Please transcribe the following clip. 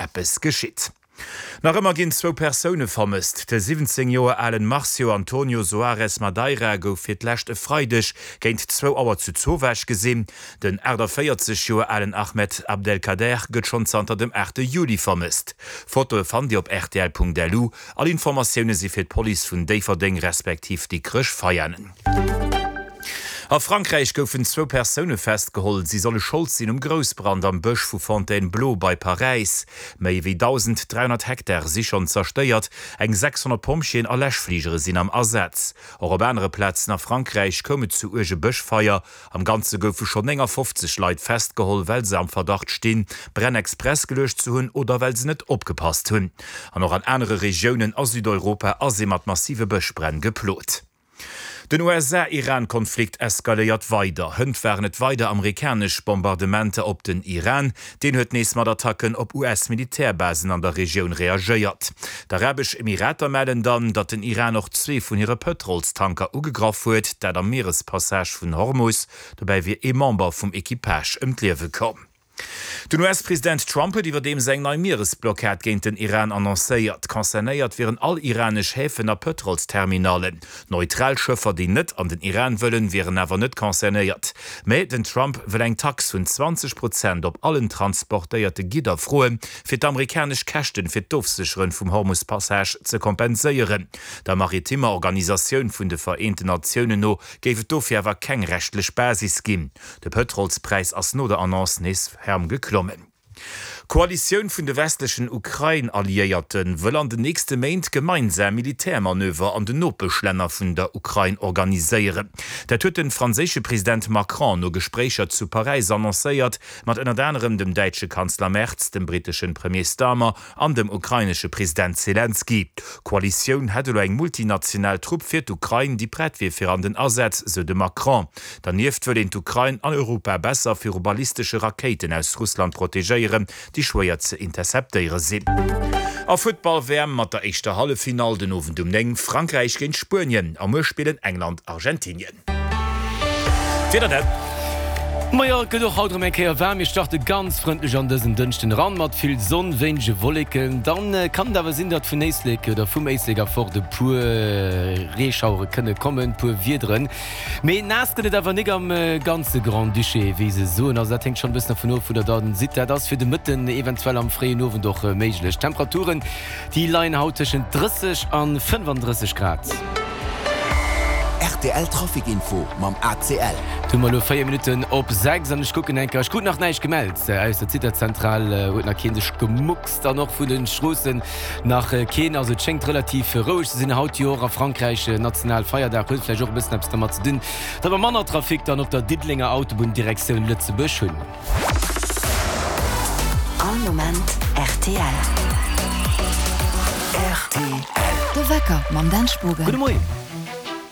eppes geschitt. Nach ëmmer ginn zwou Persoune vermësst. De 17 Joer alen Marcio Antonio Soares Madeira gouf fir d'lescht e Freideg géint zwou Auer zu Zowaasch gesinn. Den 48 Joer alen Ahmed Abdelkader gëtt schonn zanter dem 8 Juli vermësst. Fotoe fannt Dir op rtl.lu. All Informatioune si fir d'Police vun Déifferdeng respektiv Dikrech-Veianen. A Frankräich goufen zwou Persoune festgeholl. Si solle Schold sinn um Groussbrand am Bësch vu Fontainebleau bei Paräis. Méi wéi 1.300 Hektar si schonn zerstéiert. Eng 600 Pompjeeën a Läschfligere sinn am Asaz. Och op anere Plazen a Frankräich koum et zu uerge Bëschfeier. Am Ganze goufe schonn 59 Leit festgeholl, well se am Verdacht stinn, Bränn express geluecht ze hunn oder well se net opgepasst hunn. An och an anere Regiounen a Südeuropa ass ee mat massive Bëschbränn geplot. Den USA-Iran-Konflikt eskaléiert weider. Hënt waren et weider amerikanesch Bombardementer op den Iran. Deen huet nees mat Attacken op US-Militärbasen an der Regioun reagéiert. D'Arabesch Emirater mellen dann, datt den Iran och zwee vun hire Pëtrolstanker ugegraff huet, dat am Mierespassage vun Hormus. Dobäi wier ee Member vum Equipage ëm d'Liewe komm. Den US-President Trump huet iwwerdeems eng nei Mieresblockad géint den Iran annoncéiert. Concernéiert wieren all iranesch Häfen a Pëtrolsterminallen. Neutral Schëffer, déi net an den Iran wëllen, wieren awer net concernéiert. Mä den Trump wëll eng Tax vun 20 Prozent op allen transportéierte Gidder froen, fir d'amerikanesch Käschten fir d'Ofsécheren vum Hormus-Passage ze kompenséieren. Der maritimer Organisatioun vun de Vereenten Natiounen no géif et dofir awer keng rechtlech Basis ginn. De Pëtrolspräis ass no der Annonce nees ferm geklommen. D'Koalitioun vun de westlechen Ukrain-Alliéierte wëll an den nächste Méint gemeinsam Militärmanöver an den Nopeschlänner vun der Ukrain organiséieren. Dat huet de franséische President Macron no Gespréicher zu Paräis annoncéiert, mat ënnert anerem dem däitsche Kanzler Merz, dem britteschen Premier Starmer an dem ukrainesche President Selenskyj. D'Koalitioun hätt elo eng multinational Trupp fir d'Ukrain, déi prett wier fir an den Asaz, sou de Macron. Dernieft wëll een d'Ukrain an Europa besser viru ballistesche Rakéiten aus Russland protegéieren, déi schwéier ze interceptéiere sinn. A Futtball-WM mat der éischter Halleffinall den Owend um 9, Frankräich géint Spuenien a muer spillen England Argentinien. D'Wiederdaten. Majo, et gëtt och haut erëm eng Kéier waarm. Mir starte ganz frëndlech an dësen Dënschden eran, mat vill Sonn, wéinege Wolleken. Dann kann et awer sinn, datt vun Éislek oder vum Éislek erfort e puer Reeschauere kënne kommen, puer Wiederen. Mee naass gëtt et awer nik am ganze Grand-Duché, wéi se soen. Also dat hänkt schonn e bëssen dervun of, wou der dann sidd. Dat ass fir de Mëtten, eventuell am fréien Owend och méiglech. D'Temperaturen Déi leien haut tëschent 30 an 35 Grad. Rtl Trafic Info mam ACL. Et hu mer elo 4 Minutten op 6 an ech kucken eng Kéier. Ech krut nach näischt gemellt aus der Zitterzentral, huet nach keen sech gemuckst an och vun de Stroossen nach keen. Also et schéngt relativ roueg ze sinn haut. Jo och a Frankräich Nationalfeierdag, huet vläicht och e bëssen eppes dermat ze dinn, datt mer manner Trafic dann op der Diddelenger Autobunn Direktioun Lëtzebuerg hunn. All Moment rtl. Rtl. De Wecker mam Dan Spogen. Gudde Moien.